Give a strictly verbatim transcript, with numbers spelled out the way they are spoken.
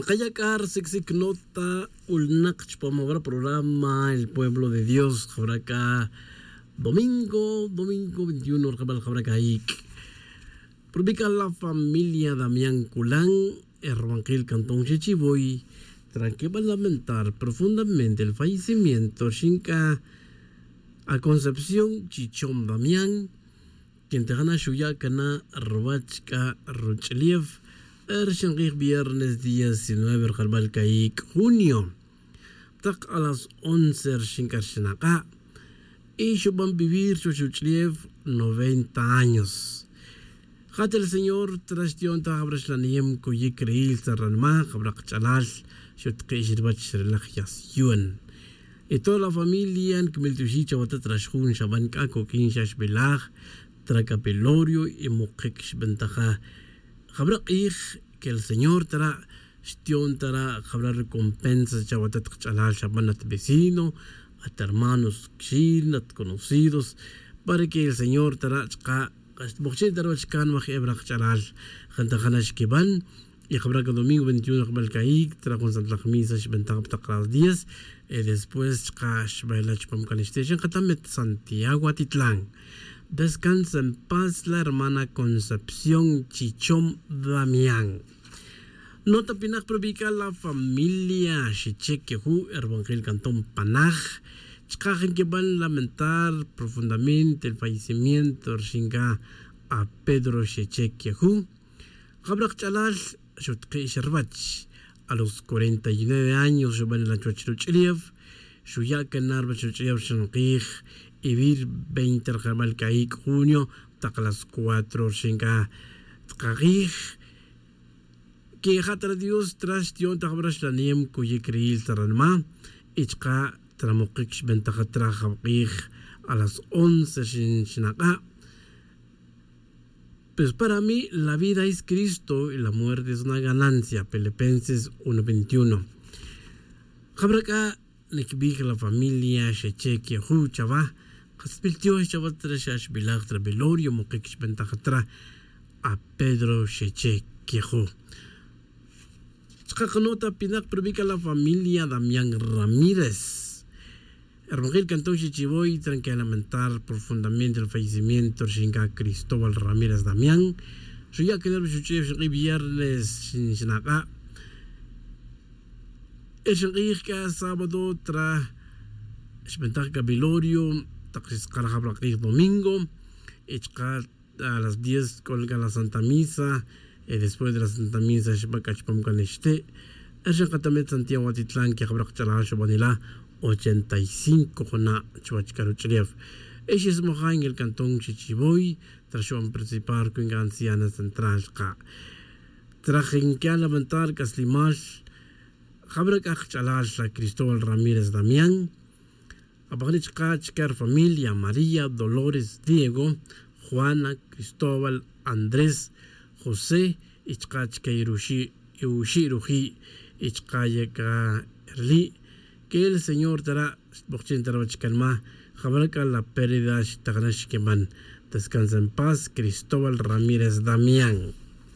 Kaya' c'a rsicsic nota c'ulnak chupam jawara programa el pueblo de dios jawara c'a domingo domingo veintiuno rjabal jawara c'a ic'. Probica la familia damián culan, erbankil cantón xechivoy, tranquibal lamentar profundamente el fallecimiento xinc'a a concepción chichom damián, quien tajana xuya' cana rwach c'a ruch'ulef, rxin kij viernes diecinueve rjalbal c'a ic' junio, tak a las once rxin c'a rxin ak'a'. Y xuban vivir chuwech ruch'ulef noventa años. Jat el señor tra xti'on ta jawra xlaniyem cuyic ril ta ranma jawra kach'alal, xutkix rwach relaj yasyuan. Y toda la familia nkimil tioxi' chawa ta tra xjun xaban c'a coq'uin xa xbelaj tra capilorio y mukic xbentaja. Jawra k'ij que el señor tara' xti'on tara' jawra recompensa chawa ta tak ch'alal xaban at vecino, at hermanos kxin at conocidos, para que el señor tara' chka' xtbojchin ta ruwach kan waj eb' raj ch'alal. Jantajan xkiban y jab'ra' ka domingo veintiuno jab'al ka'iik tra jun santlaj misa xb'antaj pa taq las diez. Después chka' xb'ela' chupam kan ixte' xinqatamit santiago atitlan. Descansa en paz la hermana concepción chichom damián. Nota pinaj probik'al la familia xechek keju' erbanjil kanton panaj. Chka' jin kib'an lamentar profundamente el fallecimiento rixin ka a pedro xechek keju'. Jab'ra qach'alal xutqi' xa rwach. A los cuarenta y nueve años xub'an la chuwach ruch'ulef. Xuya' kan na rwach ruch'ulef rixin qij. Ivir veinte rjab'al ka'iik' junio taq las cuatro rixin ka tqaqij. Keja' tra dios tra xtiyo'n ta jab'ra xlanem kuyik riyil ta ranma. Y chka' tra muqik xb'antaja tra jab'q'ij a las once xinaq'a'. Pues para mí la vida es cristo y la muerte es una ganancia. Filipenses uno veintiuno. Jab'ra k'a nikbij la familia xeche keju' chawa. Qasbil tiox chawa tra xa xb'ilaj tra velorio muqik xb'antaja tra. A pedro xeche keju'. Chka' qanota pinaq probik'al la familia damián ramírez. Hermojil kanton xichivoy tranquila lamentar profundamente el fallecimiento rixin ka cristóbal ramírez damián. Xuya' kinar xuch'uyew xinq'ij viernes xinaq'a'. Erixin q'ij k'a sábado tra xb'antaj k'a velorio taq xisq'ar jab'ra' q'ij domingo. Y chka' a las diez k'ol k'a la santa misa. Después de la santa misa xb'a' k'a chupam k'a nixte'. Erixin qatamet santiago atitlan kejab'ra' qach'alal xub'anila' ochenta y cinco juna' chuwach k'a ruch'ulef. Exismoja' en el cantón xichivoy tra xub'an participar cuenca anciana central chka'. Tra jin kya' lamentar k'aslimal. Jab'ra' k'a qach'alal la cristóbal ramírez damián. Apajani' chka' chka' rufamilia maría dolores diego, juana, cristóbal, andrés, josé, y chka' chka' iruxi' ruji'. Y chka' yek'a rili' k'el señor tara' xtb'oqchin ta ruwach kanma. Jab'ra' k'a la pérdida xtajnax xkiman. Descansa en paz cristóbal ramírez damián.